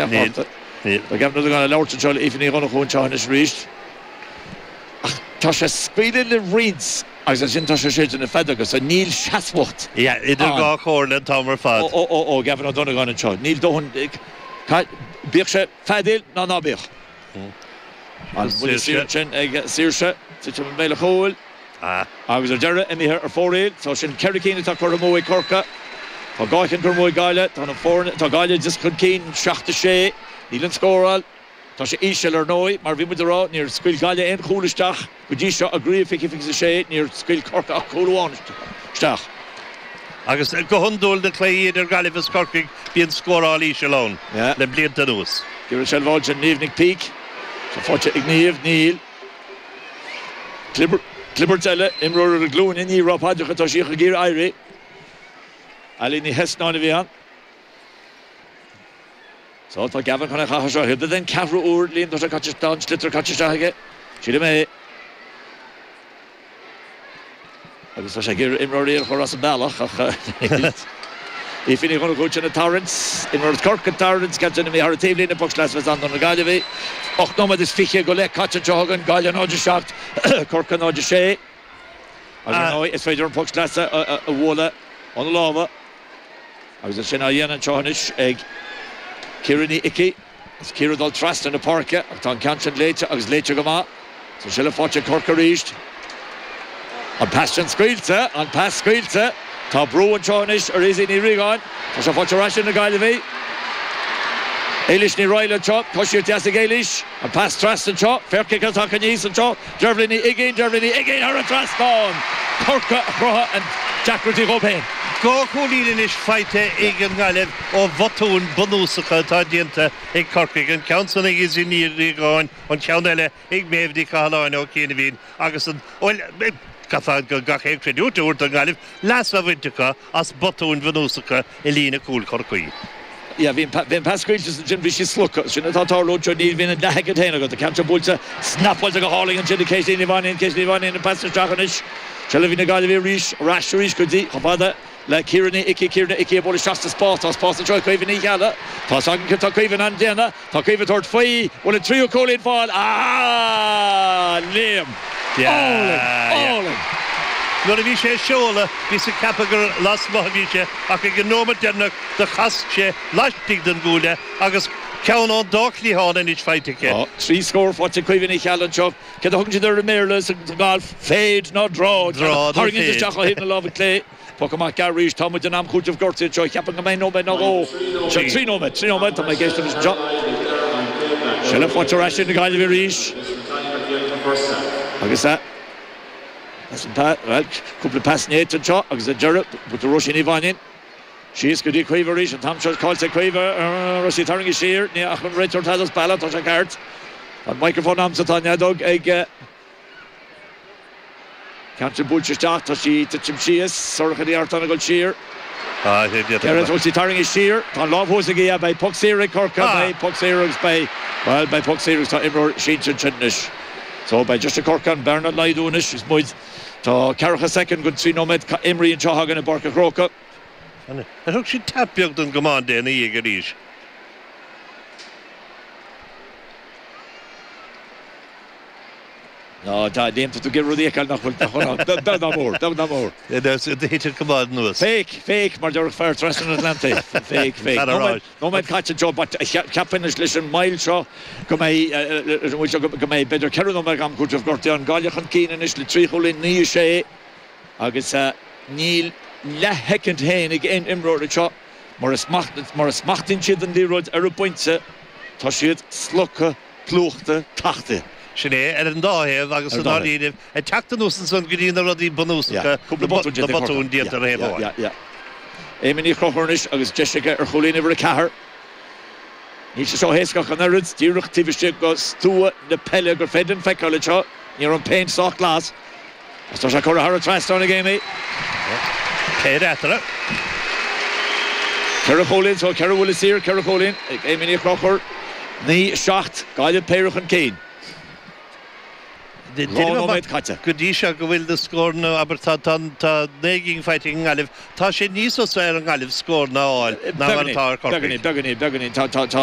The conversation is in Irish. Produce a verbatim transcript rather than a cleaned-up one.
Níl. Níl. Tá Gavin Ó Donnabháin ag labhairt anseo le Aoife Ní Dhonnchú anseo anois arís. Ach tá sé scaoileadh le roinnt agus ansin tá sé séideadh na feadóga, so níl seasmhacht Yeah, idir ann. dhá chomhairle an t-am ar fad. Ó, ó, ó, Gavin Ó Donnabháin anseo. Níl dóthain, bíodh sé feadaíl ná ná bíodh. An buille saor ansin ag Saoirse, titim i mbéal an chúil. Agus ar deireadh, imithe ar fóraoil. So sin ceithre cinn atá curtha amú ag Corcaigh. Tá dhá cheann curtha amú ag Gaillimh. Tá na foirne, tá Gaillimh just chun cinn, seacht a sé. Níl an scóráil, tá sé íseal ar ndóigh, mar bhí muid a rá, níor scaoil Gaillimh aon chúl isteach go dtí seo i gcraobh fiche fiche a sé, níor scaoil Corcaigh ach cúl amháin isteach. Agus go hiondúil na cluichí idir Gaillimh is Corcaigh bíonn scóráil íseal ann le blianta anuas. Iarrann seilbh a fháil sin Niamh Nic Píc. Tá faighte ag Niamh, níl. Clibirt eile, imreoir ar a glúine, ní raibh paidreacha, tá sí ag iarraidh éirí. Ali Ní Heasnáin a bhí ann. So tá Gavin chun é a chaitheamh seo. Thiobraid den ceathrú uair, Liam, tá sé caite, tá an sliotar caite isteach aige. Sílim é. Agus tá sé ag iarraidh imreoirí a chur as an bealach ach Aoife Ní Dhonnchú sin ag tarraingt, imreoir as Corcaigh ag tarraingt, ceann sin imithe thar an taobhlíne, poc sleasa a bheas ann do na Gaillimhigh. Ocht nóiméad is fiche go leith caite anseo againn, Gaillimh náid a seacht, Corcaigh náid a sé. Agus ar ndóigh is féidir an poc sleasa a bhualadh óna lámha. Agus é sin á dhéanamh anseo anois ag Ciara Ní Icí. Is Ciara ag dul trasna na páirce ach tá an ceann sin léite agus léite go maith. Tá seilbh faighte ag Corcaigh arís. An pas sin scaoilte, an pas scaoilte. Tá brú anseo anois ar Izzy Ní Riagáin. Tá sé faighte ar ais ag na Gaillimhigh. Éilís Ní Raghallaigh anseo, coisíocht dheas ag Éilís. An pas trasna anseo, féach cé atá tagtha aníos anseo, Deirbhile Ní Uiginn, Deirbhile Ní Uiginn thar an trasnán! Corcaigh a chruthaigh an deacrachtaí dhóibh féin. Dhá chúilín anois faighte ag an nGaillimh ó bhotúin bunúsacha atá déanta ag Corcaigh, an ceann san ag Izzy Ní Riagáin, an ceann eile ag Méabh Ní Chathalláin ó chianaibhín agus an, bhuel, caithfear gach aon chreidiúint a thabhairt don Ghaillimh, leas á bhaint acu as botúin bhunúsacha i líne cúil Chorcaí. Yeah, bhí an pas scaoilte ansin, bhí sí slogtha. Sin atá ag tarlú anseo, ní bhíonn an leathshoicind féin agat. An ceann seo buailte, snapáilte go hálainn ansin ag Caitlín Ní Mhainín, Caitlín Ní Mhainín, an pas isteach anois. Seilbh ag na Gaillimhigh arís, ar ais arís go dtí, chomh fada le Ciara Ní Icí, Ciara Ní Icí ag bualadh isteach sa spás, tá spás anseo ag Caoimhe Ní Cheallaigh. Tá's againn céard tá Caoimhe in ann déanamh, tá Caoimhe ag tabhairt faoi, bhfuil an tríú cúilín fáil? Ah! Liam! Álainn! Álainn! Nuair a bhí sé ag seoladh, bhíos ag ceapadh gur lasmuigh a bhí sé ach ag an nóiméad deireanach do chas sé laistigh den gcuaille agus ceann ón dá chliathán anois faighte aici. Tá trí scór faighte ag Caoimhe Ní Cheallaigh anseo. Céard a thugann siad air i mBéarla sa ngalf? Fade ná draw. Draw nó Tharraingíonn fade. isteach ó thaobh na láimhe clé. Poc amach gearr arís. Tá muid in am cúitimh gortaithe anseo. Cheapfainn go mbeidh nóiméad nó dhó. Seo trí nóiméad. Trí nóiméad. Tá mé ag éisteacht anois anseo. Seilbh faighte ar ais ag na Gaillimhigh arís. Agus as an bhuel, cúpla pas néata anseo agus ar deireadh, buaite Róisín Ní Mhainín. Síos go dtí Caoimhe arís, an t-am seo caillte ag Caoimhe, raibh sí tarraingthe siar, ní ach an réiteoir tada as bealach, tá sé ceart. Tá an microphone a'msa, tá an fheadóg ag ceann sin buailte isteach, tá sí ag titim síos, Sorcha Ní Artáin ag dul siar. Ceithre bhfuil sí tarraingthe siar, tá an lámh thuas aici, yeah, beidh poc saor ag Corcaigh, beidh poc saor agus beidh, bhuel, beidh poc saor agus tá imreoir sínte ansin anois. So, beidh deis ag Corcaigh an bearna a laghdú anois is muid, tá ceathracha soicind go trí nóiméad imrithe anseo againn i bPáirc an Chrócaigh. Ar thug siad tap beag don gcamán de ina dhiaidh arís? Ná, tá, Liam, tá tú ag iarraidh rudaí a fheiceáil nach bhfuil, nach bhfuil ann. Beag ná mór, beag ná mór. Thit an camán anuas. Fake, fake, mar déarfadh fear trasna an Atlantaigh. Fake, fake. Nóiméad, nóiméad caite anseo, but cheapfainn anois leis an moill seo go mbeidh, leis an mhoill seo go mbeidh b'fhéidir ceithre nóiméad am cúitimh gortaithe ann. Gaillimh chun cinn anois le trí chúilín, naoi a sé. Agus níl leathshoicind féin ag aon imreoir anseo mura smachtaíonn siad an liathróid ar an bpointe, tá siad slogtha, plúchta, tachtaithe. Sin é, ar an dá thaobh agus i ndáiríribh, ag teacht anuas ansan go dtí na rudaí bunúsacha, na botúin déanta ar thaobh amháin. Amy Ní Chonchúir anois agus deis aici ar chúilín uimhir a ceathair. Níl sé seo éasca ach an oiread, díreach taobh istigh de stua na peile gur féidir linn feiceáil anseo. Ní raibh an péint sách glas. Agus tá sé curtha thar an trasnán ag Amy. Péire eatarthu. Ceithre chúilín, so ceithre bhuille saor, ceithre chúilín ag Amy Ní Chonchúir. Naoi, seacht, Gaillimh péire chun cinn. Caite. Go dtí seo go bhfuil na scóranna abair tá tá naoi gcinn faighte ag an nGaillimh, tá sé níos fusa ar an nGaillimh scóranna a fháil ná mar atá ar Chorcaigh. Beagáinín, beagáinín, beagáinín, tá tá tá